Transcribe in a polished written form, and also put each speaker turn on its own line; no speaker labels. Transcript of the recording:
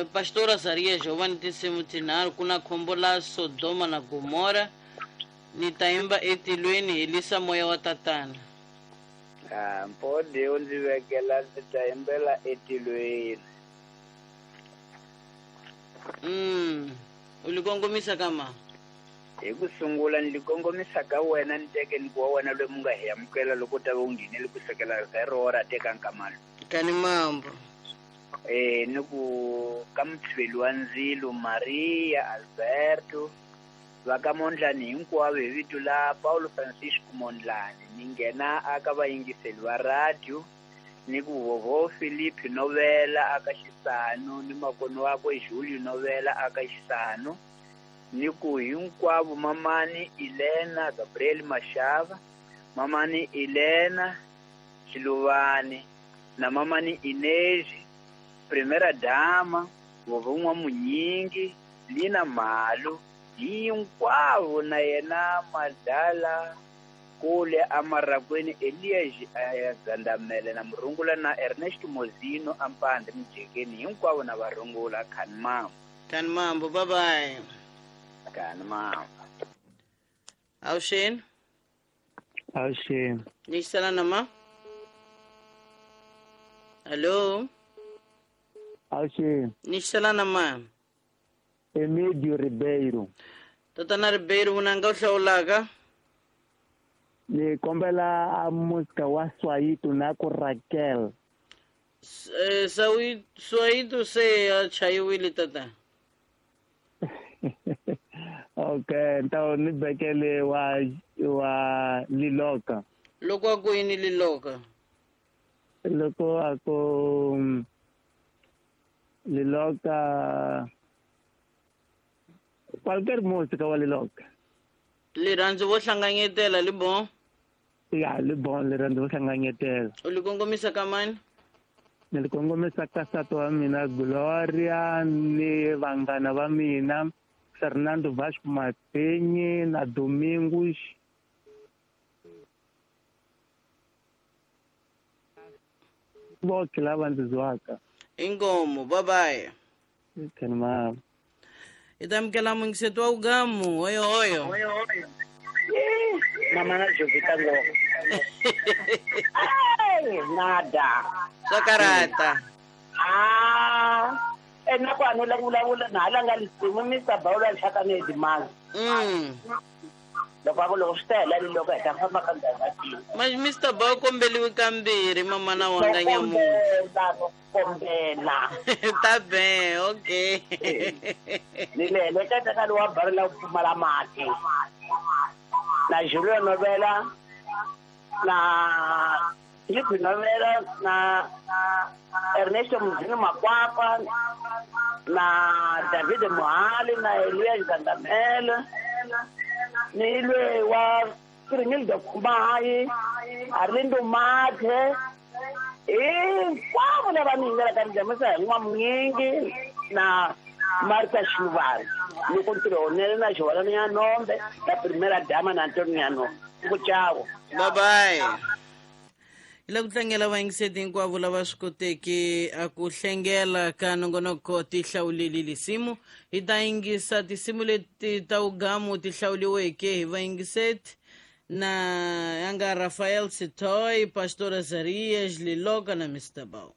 Pastor Azariya Jovani tinsimu tinharhu ku na khombo la Sodoma na Gomora ni ta yimba etilweni helisa moya wa tatana.
Ah, mpode u ndzi vekela ndzi ta yimbela etilweni.
U li kongomisa ka ma?
Hi ku sungula ni li kongomisa ka wena ni teke ni ku wa wena loyi mu nga hi amukela loko u ta va u nghenele ku sukela ka ro ra teka nkamalo.
Kani mambo.
Eh ni ku ka mutshiveli wa ndzilo Maria Alberto va ka Mondlani hinkwavo hi vito la Paulo Francisco Mondlane ni nghena aka vayingiseli va radio ni ku vovo Philip Novela aka Xisano ni makoni wakwe Julio Novela aka Xisano ni ku hinkwavo mamani Elena Gabriel Mashava mamani Elena Xiluvani na mamani Inez Primera Dama vovo N'wamunyingi Lina Malu hinkwavo na yena Madala kule amarakweni Elias Gandamele na Murungula na Ernest Mozino ampande Mujekeni hinkwavo na varungula khani mambo.
Khani mambo, bye bye.
Khani mambo.
Awuxeni.
Awuxeni.
Ni xisana na ma? Hello.
Awuxeni.
Ni xisana na ma?
Emídio Ribeiro.
Tatana Ribeiro vunanga u hlawulaka?
Ni kombela a música wa Swayito na ku Raquel.
Swayito se a chayiwile tata.
Okay, ntawo ni bekele wa Liloka.
Loko a ku yini Liloka?
Loko a ku Liloka qualquer música wa Liloka.
Rirhandzu vo hlanganyetela li bon?
Ya, li bon rirhandzu vo hlanganyetela.
U li kongomisa ka mani?
Ni li kongomisa ka nsati wa mina Gloria ni vanghana va mina Fernando Vasco Matenyi na Domingos. Voke lava ndzi zwaka.
Inkomo, bye bye.
Khani mama.
Hi ta amukela muyingiseti wa ugamu hoyo hoyo.
Mama na Jovita ngopfu. Nada.
Swa karata.
Ah, ena ku anula ku vulavula na hala nga lisimu Mr. Bawula Nhlaka ni Edimanga. Loko a ku loko swi ta hela ni loko hi ta famba ka ndhawu ya tini.
Ma Mr. Bawu kombeliwi kambirhi mama na wanga nyamuntlha.
Kombela, kombela.
Ta be, okay.
Ni le heleketa ka lowa bari la ku pfumala mati. Na Julio Novela na Filipe Novela na Ernesto Mzini Makwapa na David Mohali na Elias Gandamele ni lwe wa Kirimildo Kumayi Arlindo Mathe hinkwavo lava ni yingelaka ni jamisa hi N'wamunyingi na Martha Xiluvani loko ntirho wunene na Xiholani ya Nombe na Primera Dama na Antonio ya Nombe ku chavo.
Bye bye. Hi lava ku tlangela vayingiseti hinkwavo lava swi koteke a ku hlengela ka nongonoko ti hlawuleli lisimu. Hi ta yingisa tinsimu leti ta ugamu ti hlawuliweke hi vayingiseti na ya nga Rafael Sitoy, Pastor Azarias, Liloka na Mr. Bao.